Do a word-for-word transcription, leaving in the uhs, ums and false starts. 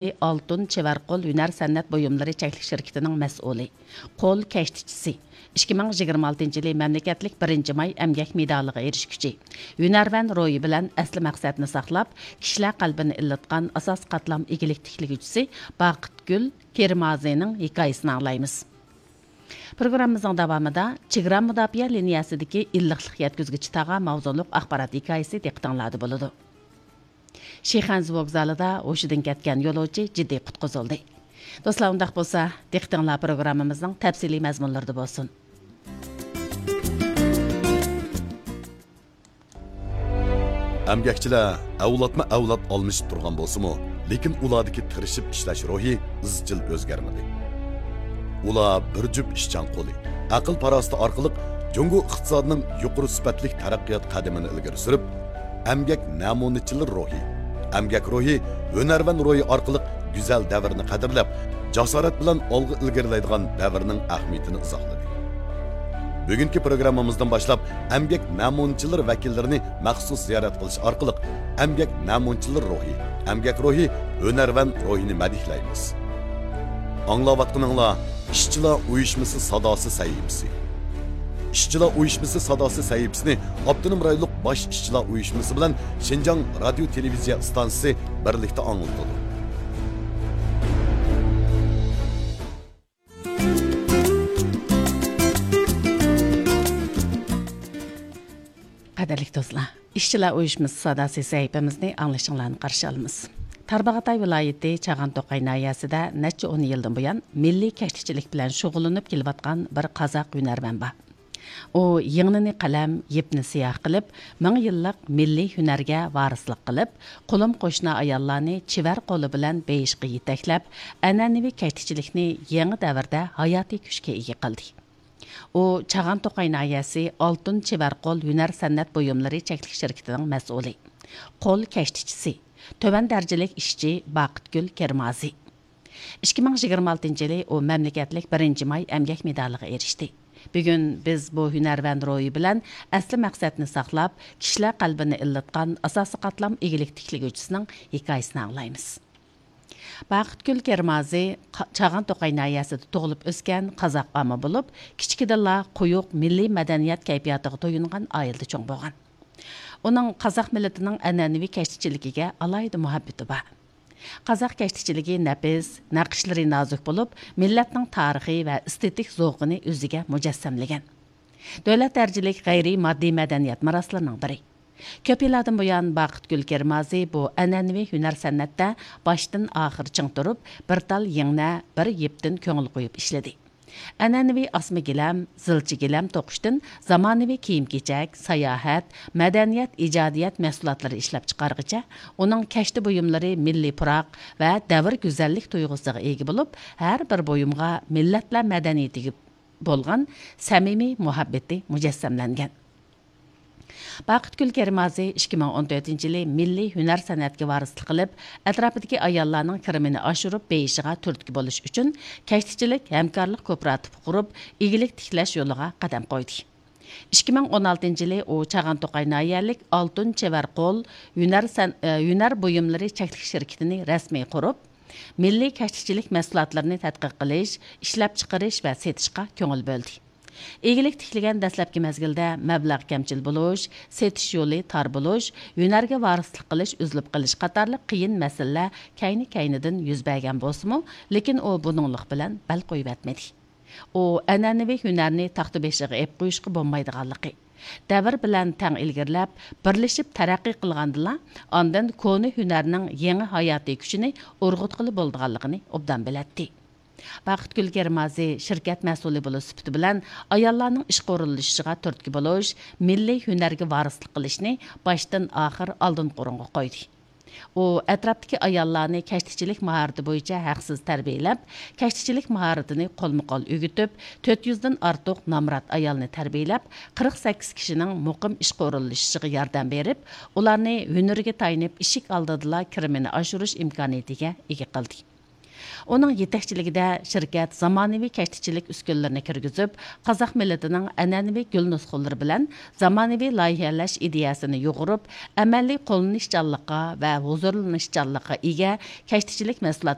ئالتۇن چېۋەر قول ھۈنەر سەنئەت بۇيۇملىرى چەكلىك شىركىتىنىڭ مەسئۇلى، قول كەشتىچىسى، ئىككى مىڭ يىگىرمە ئالتىنچى يىلى مەملىكەتلىك بىرىنچى ماي ئەمگەك مېدالىغا ئېرىشكۈچى، ھۈنەرۋەن روھى بىلەن ئەسلى مەقسەتنى ساقلاپ، كىشىلەر قەلبىنى ئىللىتقان ئاساسىي قاتلام ئىگىلىك تىكلىگۈچىسى باقىتگۈل كىرمازىنىڭ ھېكايىسىنى ئاڭلايمىز. پروگراممىمىزنىڭ داۋامىدا چېگرا مۇداپىئە لىنىيەسىدىكى ئىللىقلىق يەتكۈزگۈچى تاغا ماۋزۇلۇق ئاخبارات ھېكايىسى دىققىتىڭلاردا بولىدۇ. شىخەنزۇ ۋوگزالىدا ھوشىدىن كەتكەن يولۇچى جىددىي قۇتقۇزۇلدى. دوستلار، ئۇنداق بولسا، دىققىتىڭلار پروگراممىمىزنىڭ تەپسىلىي مەزمۇنلىرىدا بولسۇن. ئەمگەكچىلەر ئەۋلادمۇ ئەۋلاد ئالمىشىپ تۇرغان بولسىمۇ، لېكىن ئۇلاردىكى تىرىشىپ ئىشلەش روھى ئىزچىل ئۆزگەرمىدى. ئۇلار بىر جۈپ ئىشچان قولى، ئەقىل-پاراسىتى ئارقىلىق جۇڭگو ئىقتىسادىنىڭ يۇقىرى سۈپەتلىك تەرەققىيات قەدىمىنى ئىلگىرى سۈرۈپ، ئەمگەك نەمۇنىچىلىرى روھى، ئەمگەك روھى، ھۈنەرۋەن روھى ئارقىلىق گۈزەل دەۋرنى قەدىرلەپ، جاسارەت بىلەن ئالغا ئىلگىرىلەيدىغان دەۋرنىڭ ئەھمىيىتىنى ئىزاھلىدى. بۈگۈنكى پروگراممىمىزدىن باشلاپ ئەمگەك نەمۇنىچىلىرى ۋەكىللىرىنى مەخسۇس زىيارەت قىلىش ئارقىلىق ئەمگەك نەمۇنىچىلىرى روھى، ئەمگەك روھى، ھۈنەرۋەن روھىنى مەدھىيلەيمىز. ئاڭلاۋاتقىنىڭلار ئىشچىلار ئۇيۇشمىسى ساداسى سەھىپىسى. ئىشچىلار ئۇيۇشمىسى ساداسى سەھىپىسىنى ئاپتونوم رايونلۇق باش ئىشچىلار ئۇيۇشمىسى بىلەن شىنجاڭ رادىيو تېلېۋىزىيە ئىستانسىسى بىرلىكتە ئاڭلىتىدۇ. قەدىرلىك دوستلار، ئىشچىلار ئۇيۇشمىسى ساداسى سەھىپىمىزنى ئاڭلىشىڭلارنى قارشى ئالىمىز. تارباغاتاي ۋىلايىتى چاغان توقاي ناھىيەسىدە نەچچە ئون يىلدىن بۇيان مىللىي كەشتىچىلىك بىلەن شۇغۇللىنىپ كېلىۋاتقان بىر قازاق ھۈنەرۋەن بار. ئۇ يىڭنىنى قەلەم، يىپنى سىياھ قىلىپ، مىڭ يىللىق مىللىي ھۈنەرگە ۋارىسلىق قىلىپ، قولۇم قوشنا ئاياللارنى چېۋەر قولى بىلەن بېيىشقا يېتەكلەپ، ئەنئەنىۋى كەشتىچىلىكنى يېڭى دەۋردە ھاياتىي كۈچكە ئىگە قىلدى. ئۇ چاغان توقاي ناھىيەسى ئالتۇن چېۋەر قول ھۈنەر سەنئەت بۇيۇملىرى چەكلىك شىركىتىنىڭ مەسئۇلى، قول كەشتىچىسى، تۆۋەن دەرىجىلىك ئىشچى باقىتگۈل كىرمازى. ئىككى مىڭ يىگىرمە ئالتىنچى يىلى ئۇ مەملىكەتلىك بىرىنچى ماي ئەمگەك مېدالىغا ئېرىشتى. بۈگۈن بىز بۇ ھۈنەرۋەن روھى بىلەن ئەسلى مەقسەتنى ساقلاپ، كىشىلەر قەلبىنى ئىللىتقان ئاساسىي قاتلام ئىگىلىك تىكلىگۈچىسىنىڭ ھېكايىسىنى ئاڭلايمىز. باقىتگۈل كىرمازى قا-، چاغان توقاي ناھىيەسىدە تۇغۇلۇپ ئۆسكەن قازاق ئاما بولۇپ، كىچىكىدىنلا قويۇق مىللىي مەدەنىيەت كەيپىياتىغا تويۇنغان ئائىلىدە چوڭ بولغان. ئۇنىڭ قازاق مىللىتىنىڭ ئەنئەنىۋى كەشتىچىلىكىگە ئالاھىدە مۇھەببىتى بار. قازاق كەشتىچىلىكى نەپىس، نەقىشلىرى نازۇك بولۇپ، مىللەتنىڭ تارىخى ۋە ئېستېتىك زوقىنى ئۆزىگە مۇجەسسەملىگەن. دۆلەت دەرىجىلىك غەيرىي ماددىي مەدەنىيەت مىراسلىرىنىڭ بىرى. كۆپ يىللاردىن بۇيان باقىتگۈل كىرمازى بۇ ئەنئەنىۋى ھۈنەر سەنئەتتە باشتىن ئاخىر چىڭ تۇرۇپ، بىر تال يىڭنە، بىر يىپتىن كۆڭۈل قويۇپ ئىشلىدى. ئەنئەنىۋى ئاسما گىلەم، زىلچە گىلەم توقۇشتىن زامانىۋى كىيىم-كېچەك، ساياھەت، مەدەنىيەت، ئىجادىيەت مەھسۇلاتلىرى ئىشلەپچىقارغىچە، ئۇنىڭ كەشتە بۇيۇملىرى مىللىي پۇراق ۋە دەۋر گۈزەللىك تۇيغۇسىغا ئىگە بولۇپ، ھەر بىر بۇيۇمغا مىللەتلەر مەدەنىيىتىگە بولغان سەمىمىي مۇھەببىتى مۇجەسسەملەنگەن. باقىتگۈل كىرمازى ئىككى مىڭ ئون تۆتىنچى يىلى مىللىي ھۈنەر سەنئەتكە ۋارىسلىق قىلىپ، ئەتراپىدىكى ئاياللارنىڭ كىرىمىنى ئاشۇرۇپ بېيىشىغا تۈرتكە بولۇش ئۈچۈن، كەشتىچىلىك ھەمكارلىق كوپىراتىپى قۇرۇپ، ئىگىلىك تىكلەش يولىغا قەدەم قويدى. ئىككى مىڭ ئون ئالتىنچى يىلى ئۇ چاغان توقاي ناھىيەلىك ئالتۇن چېۋەر قول ھۈنەر سەن-، ئە، ھۈنەر بۇيۇملىرى چەكلىك شىركىتىنى رەسمىي قۇرۇپ، مىللىي كەشتىچىلىك مەھسۇلاتلىرىنى تەتقىق قىلىش، ئىشلەپچىقىرىش ۋە سېتىشقا كۆڭۈل بۆلدى. ئىگىلىك تىكلىگەن دەسلەپكى مەزگىلدە مەبلەغ كەمچىل بولۇش، سېتىش يولى تار بولۇش، ھۈنەرگە ۋارىسلىق قىلىش ئۈزۈلۈپ قېلىش قاتارلىق قىيىن مەسىلىلەر كەينى-كەينىدىن يۈز بەرگەن بولسىمۇ، لېكىن ئۇ بۇنىڭلىق بىلەن بەل قويۇۋەتمىدى. ئۇ ئەنئەنىۋى ھۈنەرنى تاختا بېشىغا ئېلىپ قويۇشقا بولمايدىغانلىقى، دەۋر بىلەن تەڭ ئىلگىرىلەپ، بىرلىشىپ تەرەققىي قىلغاندىلا، ئاندىن كونا ھۈنەرنىڭ يېڭى ھاياتىي كۈچىنى ئۇرغۇتقىلى بولىدىغانلىقىنى ئوبدان بىلەتتى. باقىتگۈل كىرمازى شىركەت مەسئۇلى بولۇش سۈپىتى بىلەن، ئاياللارنىڭ ئىشقا ئورۇنلىشىشىغا تۈرتكە بولۇش، مىللىي ھۈنەرگە ۋارىسلىق قىلىشنى باشتىن ئاخىر ئالدىنقى ئورۇنغا قويدى. ئۇ ئەتراپتىكى ئاياللارنى كەشتىچىلىك ماھارىتى بويىچە ھەقسىز تەربىيەلەپ، كەشتىچىلىك ماھارىتىنى قولمۇ قول ئۆگىتىپ، تۆت يۈزدىن ئارتۇق نامرات ئايالنى تەربىيەلەپ، قىرىق سەككىز كىشىنىڭ مۇقىم ئىشقا ئورۇنلىشىشىغا ياردەم بېرىپ، ئۇلارنى ھۈنىرىگە تايىنىپ ئىشىك ئالدىدىلا كىرىمىنى ئاشۇرۇش ئىمكانىيىتىگە ئىگە قىلدى. ئۇنىڭ يېتەكچىلىكىدە شىركەت زامانىۋى كەشتىچىلىك ئۈسكۈنىلىرىنى كىرگۈزۈپ، قازاق مىللىتىنىڭ ئەنئەنىۋى گۈل نۇسخىلىرى بىلەن زامانىۋى لايىھەلەش ئىدىيەسىنى يۇغۇرۇپ، ئەمەلىي قوللىنىشچانلىققا ۋە ھۇزۇرلىنىشچانلىققا ئىگە كەشتىچىلىك مەھسۇلات